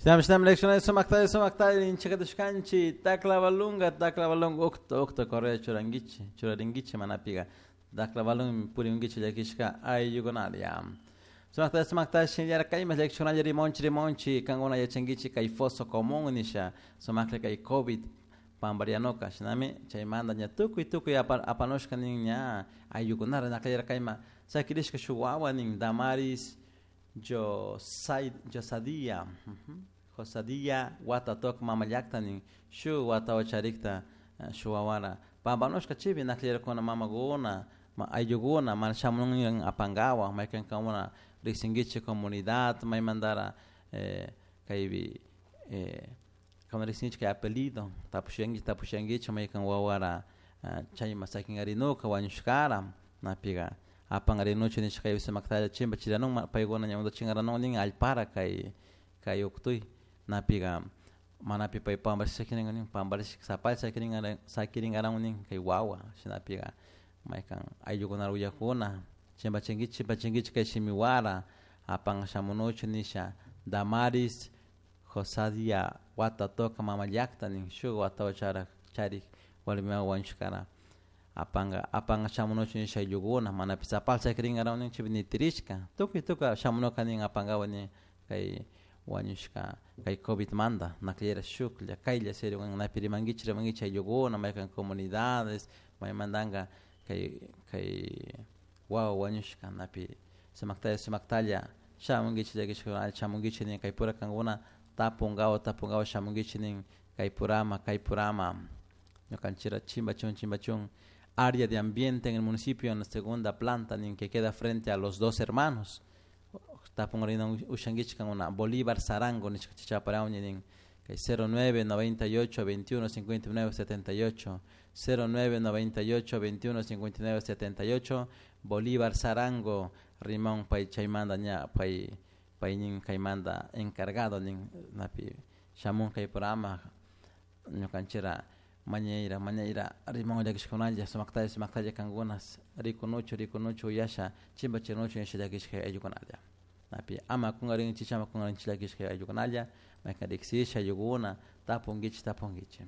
Shinami shinami lecciones sumaktalla sumaktalla inchakatushkanchik taklabalunga taklabalunga ukta ukta correa churankichik churarinkichik manapiga taklabalun purinkichik llakishka ayllukunalla. Sumaktalla sumaktalla shinallara kayma llakishkunalla rimonchik rimonchik kankuna yachankichik kay foso común nisha sumaklla kay COVID pamparianuka shinami chaymanta ña tukuy tukuy apanushka nin ña ayllukunara nakllayara kayma sakirishka shuk wawa nin Damaris Josadia Josadia watatok mamallakta nin shuk watawa charikta shuk wawara pampanushka chaypi nakllarakuna mamakuna ayllukuna mana shamun apankawa maykankuna riksinkichik comunidad maymantara kaypi kankuna riksinkichik kay apellido tapushankichik tapushankichik maykan wawara chayman sakinkarinuka wañushkara napiga apankarinuchu nishka kaypi sumaktalla chimbachiranun paykuna ña chinkaranun nin allpara kay kay uktuy napiga manapi pay pamparish sakirin nin pamparish sapalla sakirin sakirinkaran nin kay wawa shinapiga maykan ayllukuna willakuna chimpachinkichik chimpachinkichik kay shimiwara apan shamunuchu nisha Damaris Josadia watatoka mamallakta nin shuk watawa charak charik warmi wawa wañushkara apanka apanka shamunuchu nisha ayllukuna manapish sapalla sakirinkaran nin chaypi nitirishka tukuy tukuy shamunuka nin apankawa nin kay wañushka kay COVID manta nakllayra shuklla kaylla serio napi rimankichik rimankichik ayllukuna maykan comunidades maymantanka kay kay wawa wañushka napi sumaktalla sumaktalla shamunkichik llakishkuna shamunkichik nin kaypura kankuna tapunkawa tapunkawa shamunkichik nin kaypurama kaypurama ñukanchikra chimbachun chimbachun área de ambiente en el municipio en la segunda planta nin que queda frente a los dos hermanos tapunkarina ushankichik kankuna Bolívar Sarango nishka chaparawni nin kay 09 98 21 59 78 09 98 21 59 78 Bolívar Sarango rimon pay chaymanta ña pay pay nin kaymanta encargado nin napi shamun kaypurama ñukanchikra mañayra mañayra rimon llakishkunalla sumaktalla sumaktalla kankuna rikunuchu rikunuchu uyasha chimbachinuchu nisha llakishka ayllukunalla napi ama kunkarinchik ama kunkarinchik llakishka ayllukunalla maykan riksisha ayllukuna tapunkichik tapunkichik.